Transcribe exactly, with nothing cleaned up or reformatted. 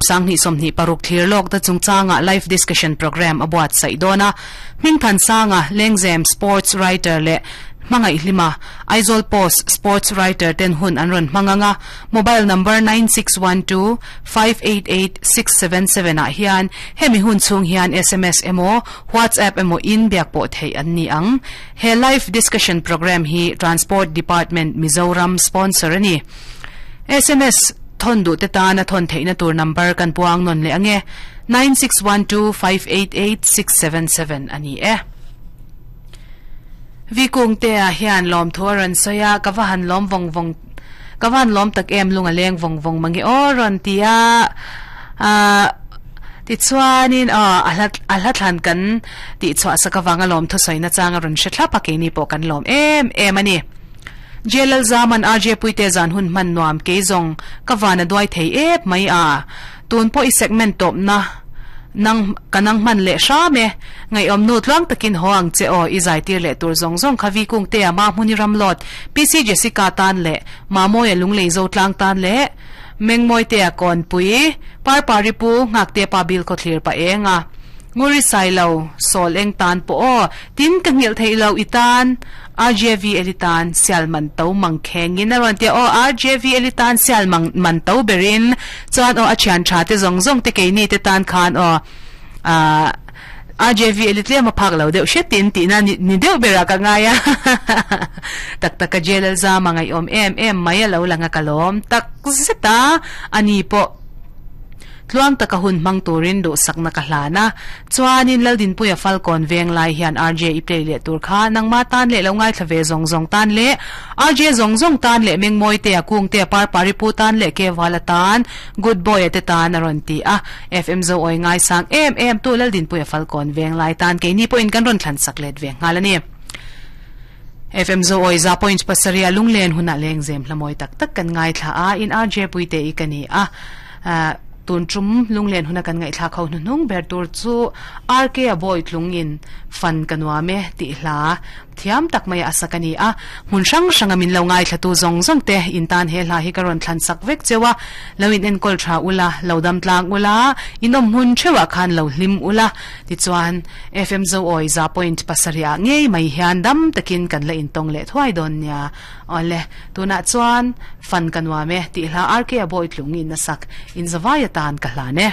Sang ni som ni paruk thlir lok ta chungchanga live discussion program abuat sai dona Mingthan Sanga Lengzem sports writer le Mangai Hlima Aizawl Post sports writer ten hun an ron manganga. Mobile number nine six one two five eight eight six seven seven a hian hemi hun chung hian S M S emo WhatsApp emo in biak po thei an ni ang. He live discussion program hi Transport Department Mizoram sponsor ani. S M S thon du te ta na thon theina tur number kan puang non le ange nine six one two five eight eight six seven seven ani e. Vi kung te a hian lom thuaran soya kawahan lom vong vong kawan lom tak em lunga leng vong vong mangi oron tia a ti chuanin a ahlat ahlathan kan ti chwa sakawanga lom tho soina changa ron she thlapa ke ni po kan lom em em ani. Jelal Zaman R J Puite zan hun man nuam ke zong kawana duai thei ep mai a tun po i segment top na nang kanang man le sha me ngai om nu tlang takin hoang che o i zai tir le tur zong zong khavi kung te ma muni ram lot P C Jessica tan le ma moya lunglei zo tlang tan le mengmoi te a kon pui par pari pu ngak te pa bil ko thlir pa enga nguri sai lo sol eng tan po o tin ka ngil thei lo itan R J V elitan sial man to mang khengin aron te o R J V elitan sial mang man to berin chuan o achian tha te zong zong te ke ni te tan khan o a R J V elitle ma phak lo deuh she tin ti na ni deuh bera ka ngaya tak tak ka jelal za mangai om em em mai lo langa kalom tak zeta ani po tluang taka hun mang turin do sakna ka hlana chuanin laldin puya falcon veng lai hian R J i play le tur kha nangma tan le lo ngai thlave zong zong tan le R J zong zong tan le mengmoi te akung te par paripu tan le ke wala tan good boy te tan aron ti a F M zo oi ngai sang em em tu laldin puya falcon veng lai tan ke ni po in kan ron thlan sak let ve ngalani F M zo oi za point pasaria lunglen huna leng zem hlamoi tak tak kan ngai thla a in R J puite i kani a tun trum lunglen huna kan ngai thla khau nung ber tur chu R K a boy tlungin fan kanwa me ti hla thiam tak mai asakani a mun sang sanga min lo ngai thla tu zong zong te in tan he hla hi karon thlan sak vek chewa loin en kol tha ula lodam tlang ula inom hun chewa khan lo hlim ula ti chuan F M zo oi za point pasaria ngei mai hian dam takin kan la in tong le thwai don nia ole tuna chuan fan kanwa me ti hla R K a boy tlungin na sak in zawaya tan ka hla ne.